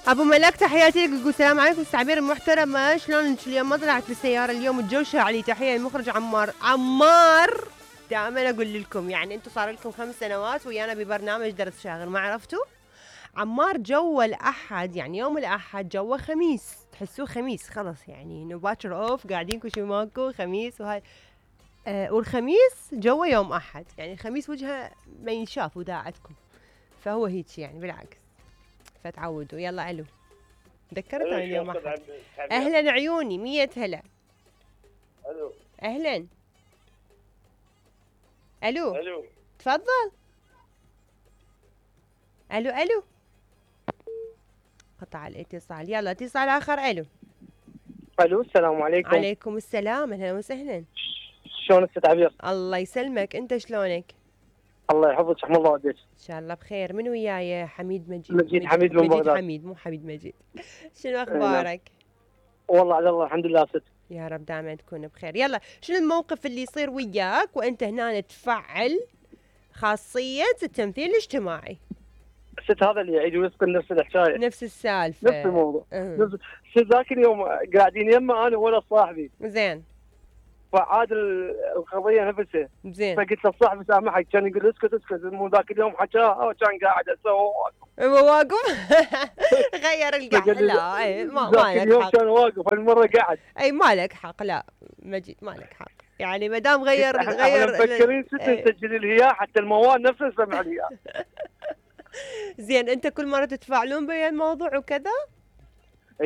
ابو ملاك تحياتي لك، يقول السلام عليكم استاذ عبير المحترمه، شلونك اليوم؟ ما طلعت بالسياره اليوم، الجو شاعلي. تحيه المخرج عمار. دائما اقول لكم يعني انتم صار لكم 5 سنوات ويانا ببرنامج درس شاغر، ما عرفتوا؟ عمار جو الاحد، يعني يوم الاحد جو خميس، تحسوه خميس خلص، يعني باكر اوف، قاعدين كل شيء ماكو خميس وهاي. والخميس جو يوم احد، يعني الخميس وجهه ما ينشاف وداعتكم، فهو هيك يعني بالعكس، فتعودوا. يلا الو، ذكرت عن اليوم احد. اهلا عيوني، 100 هلا. الو اهلا. الو الو تفضل. الو قطع الاتصال. يلا اتصال اخر. الو السلام عليكم. عليكم السلام، اهلا وسهلا. شلونك استاذ عبير؟ الله يسلمك، انت شلونك؟ الله يحفظك، رحم الله والديك. ان شاء الله بخير. من وياي؟ حميد مجيد. مجيد حميد من بغداد. حميد مو حميد مجيد. شنو اخبارك؟ والله على الله الحمد لله ست. يا رب دائما تكون بخير. يلا، شنو الموقف اللي يصير وياك وانت هنا تفعل خاصية التمثيل الاجتماعي؟ ست هذا اللي يعيد ويسكن نفس الحكايه، نفس السالفة، نفس الموضوع. ست ذاك اليوم قاعدين يمه انا ولا صاحبي، زين، فعاد القضيه نفسها. زين، فقلت لصاحبي سامحك، كان يقول اسكت مو ذاك اليوم حكاها وكان قاعد اسوي واقف. غير القعده. لا اي ما ذاك اليوم لك حق. كان واقف، هالمره قاعد. اي ما لك حق، لا مجيد ما لك حق، يعني ما دام غير احنا مفكرين ست نسجل الهياء حتى الموال نفسه نسمع الهياء. زين، انت كل مره تتفاعلون بهذا الموضوع وكذا؟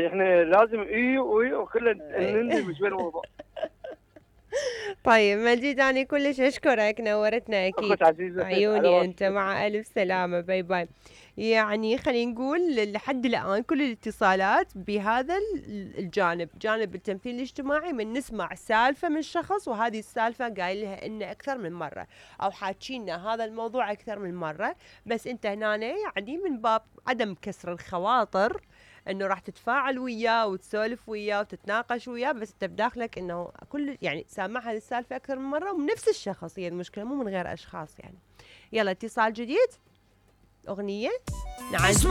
احنا لازم وكلنا نندمج بالموضوع. طيب مجيد، أنا كلش أشكرك، نورتنا أكيد. عيوني أنت، مع ألف سلامة، باي باي. يعني خلينا نقول لحد الآن كل الاتصالات بهذا الجانب، جانب التمثيل الاجتماعي، من نسمع سالفة من شخص وهذه السالفة قايل لها إنه أكثر من مرة، أو حاكينا هذا الموضوع أكثر من مرة، بس أنت هنا يعني من باب عدم كسر الخواطر انه راح تتفاعل وياه وتسولف وياه وتتناقش وياه، بس انت بداخلك انه كل يعني سامع هذه السالفه اكثر من مره ومن نفس الشخص، هي المشكله مو من غير اشخاص يعني. يلا اتصال جديد، اغنيه نعزل.